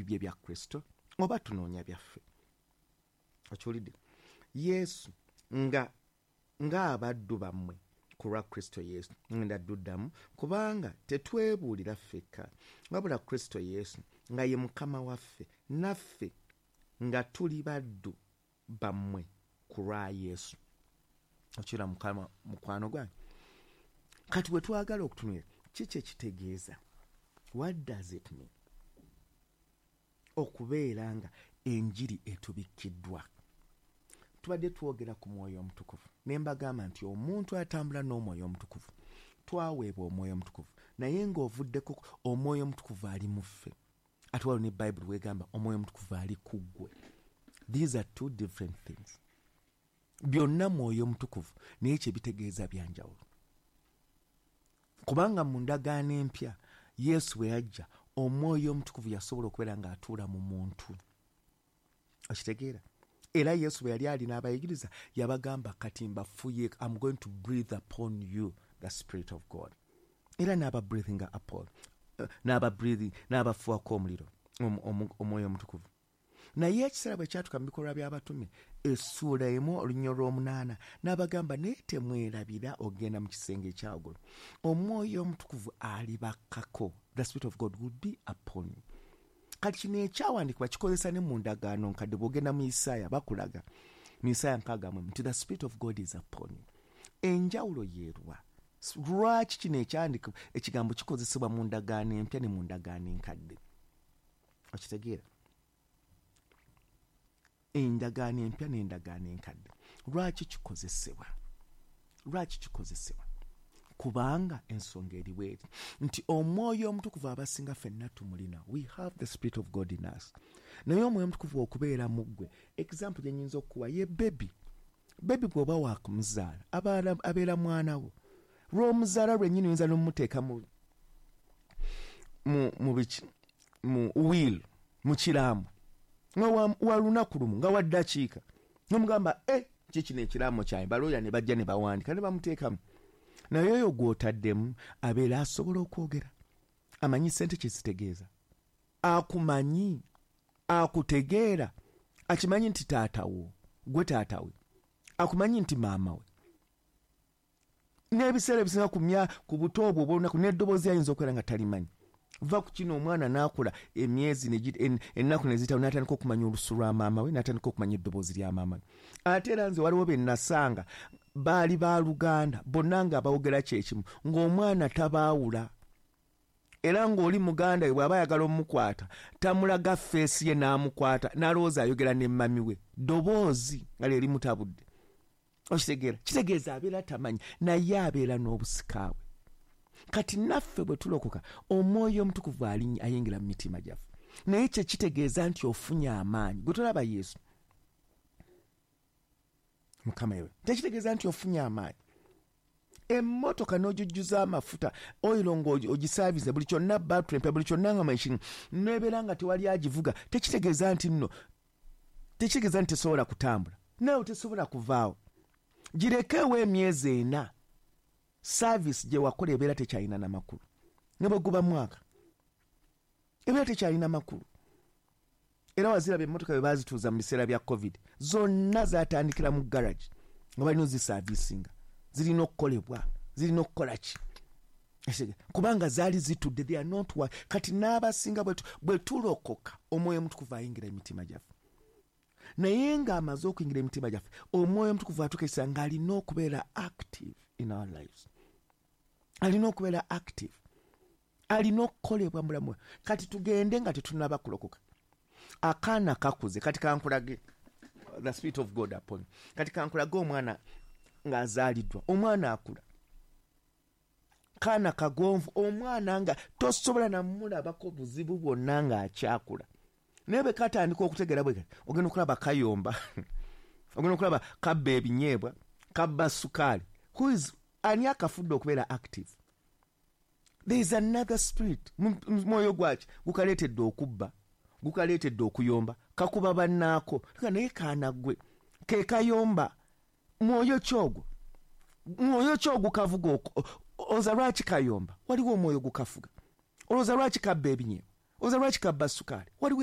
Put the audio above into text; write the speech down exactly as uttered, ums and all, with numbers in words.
Ebibye bya Kristo oba tunoonya byaffe? Okiwulidde? Yesu nga ng'abaddu bammwe ku lwa Kristo Yesu. Ngenda dduddamu, kubanga tetwebuulira ffekka, wabula Kristo Yesu nga ye Mukama waffe, naffe nga tuli baddu bammwe ku lwa Yesu. Okira Mukama, mukwano gwange, kati bwe twagala okutunula kiki ekitegeeza, what does it mean okubeera nga enjiri etubikkiddwa? Tubadde twogera ku Mwoyo Omutukuvu, ne mbagamba nti omuntu atambula n'Omwoyo Omutukuvu, twaweebwa Omwoyo Omutukuvu, naye ng'ovuddeko Omwoyo Omutukuvu ali mu ffe, ate waliwo ne Bayibuli wegamba Omwoyo Omutukuvu ali ku ggwe. These are two different things. Byonna Mwoyo Omutukuvu, naye kyebitegeeza byanjawulo, kubanga mu Ndagaano Empya, Yesu bwe yajja, Omwoyo Omutukuvu yasobola okubeera ng'atuula mu muntu. Okitegeera? Era Yesu bwe yali alina abayigiriza, yabagamba, "Kati mbafuye, I'm going to breathe upon you the Spirit of God." Era n'aba breathing upon, uh, n'aba breathing, n'abafuwako omuliro, Omwoyo Omutukuvu. Naye ekiseera bwe kyatuka mu Bikolwa by'Abatume essuula emu olunya olw'omunaana, n'abagamba, "Naye temwerabira ogenda mu kisenge ekyawaggulu, Omwoyo Omutukuvu alibakkako." The Spirit of God will be upon you. Kati kino ekyawandiikibwa kikozesa ne mu Ndagaano Nkadde. Bw'ogenda mu Isaaya, bakulaga mu Isaaya nkaaga mu nti the Spirit of God is upon you. Enjawulo yeerwa? Lwaki kino ekyawandiikibwa, ekigambo kikozesebwa mu Ndagaano Empya ne mu Ndagaano Enkadde? Okitegeera? Endagaano Empya n'Endagaano Enkadde, lwaki kikozesebwa? Lwaki kikozesebwa? Kubanga ensonga eri bweri nti Omwoyo Omutukuvu abasinga ffenna tumulina. We have the Spirit of God in us. Naye Omwoyo Omutukuvu okubeera mu ggwe, example gye nyinza okukuwa ye baby. Baby bw'oba wakumuzaala, abeera mwana wo. Lw'omuzaala lwennyini, oyinza n'omumuteeka mu mu biki, mu will, mu kiraamo, nga wa lunaku lumu, nga wa ddakiika, nomugamba, "E, kikino ekiraamo kyange." Balooya ne bajja ne bawandika ne bamuteekamu. Naye oyo gw'otaddemu abeera asobola okwogera, amanyi sente kyezitegeeza, akumanyi, akutegeera, akimanyi nti taatawo, gwe taatawe, akumanyi nti maama we. N'ebiseera ebisinga kumya ku buto obwo obwolunaku, n'eddoboozi ayinza okubeera nga talimanyi. Va ku kino, omwana n'akula emyezi, ennaku neziyitawo, n'atandika okumanya olusu lwa maama we, n'atandika okumanya eddoboozi lya maama we. Ate era nze waliwo be nasanga baali baluganda bonna nga bawogera kyekimu, ng'omwana tabaawula, era ng'oli muganda we bw'aba ayagala omukwata, tamulaga face ye, n'amukwata n'alowooza ayogera ne mummy we, ddoboozi nga lye limutabudde. Okitegeera? Kitegeeza abeera tamanyi, naye abeera n'obusikaawe. Kati naffe bwe tulokoka, Omwoyo Omutukuvu ayingira mu mitima gyaffe, naye kyekitegeeza nti ofunye amaanyi. Gwe tolaba Yesu Mukama yewe, tekitegeeza nti ofunye amaanyi. Emmotoka n'ogijjuza amafuta, oil, ng'ogisaaviza buli kyonna, battery empya, buli kyonna nga machine, nebeera nga tewali agivuga, tekitegeeza nti nno, tekitegeeza nti tesobola kutambula. Naawe tesobola kuvaawo. Girekeewo emyezi ena, service gye wakola ebeera tekyalina namakulu. Ne bwe guba mwaka, ebeera tekyalina makulu. Era waziraba emmotoka bwe bazituuza mu biseera bya COVID, zonna zatandikira mu garage nga balina ozisaavisinga, zirina okukolebwa, zirina okukola ki, kubanga zaali zitudde. They are not wa. Kati n'abasinga bwe tulokoka, Omwoyo Omutukuvu ayingira emitima gyaffe. Naye ng'amaze okuyingira emitima gyaffe, Omwoyo Omutukuvu atukesa ng'alina okubeera active in our lives, alina okubeera active, alina okukolebwa mulamu. Kati tugende nga tetunaba kulokoka, akaana kakuze. Kati kankulage the Spirit of God upon. Kati kankulage omwana ng'azaaliddwa. Omwana akula, kaana kagonvu, omwana nga tosobola namulabako buzibu bwonna ng'akyakula. Naye bwe katandika okutegeera, bwe ogenda okulaba kayomba, ogenda okulaba kabba ebinyeebwa, kabba sukaali. Who is, ani akafudde okubeera active? There is another spirit. Mwoyo gwaki gukaleetedde okubba, gukaleetedde okuyomba, kakuba bannaako? Naye kaana ggwe ke kayomba, mwoyo kyogwo, mwoyo kyogukavuga? Olowooza lwaki kayomba? Waliwo omwoyo gukafuga. Olowooza lwaki kabba ebinyeebwa? Olowooza lwaki kabba sukaali? Waliwo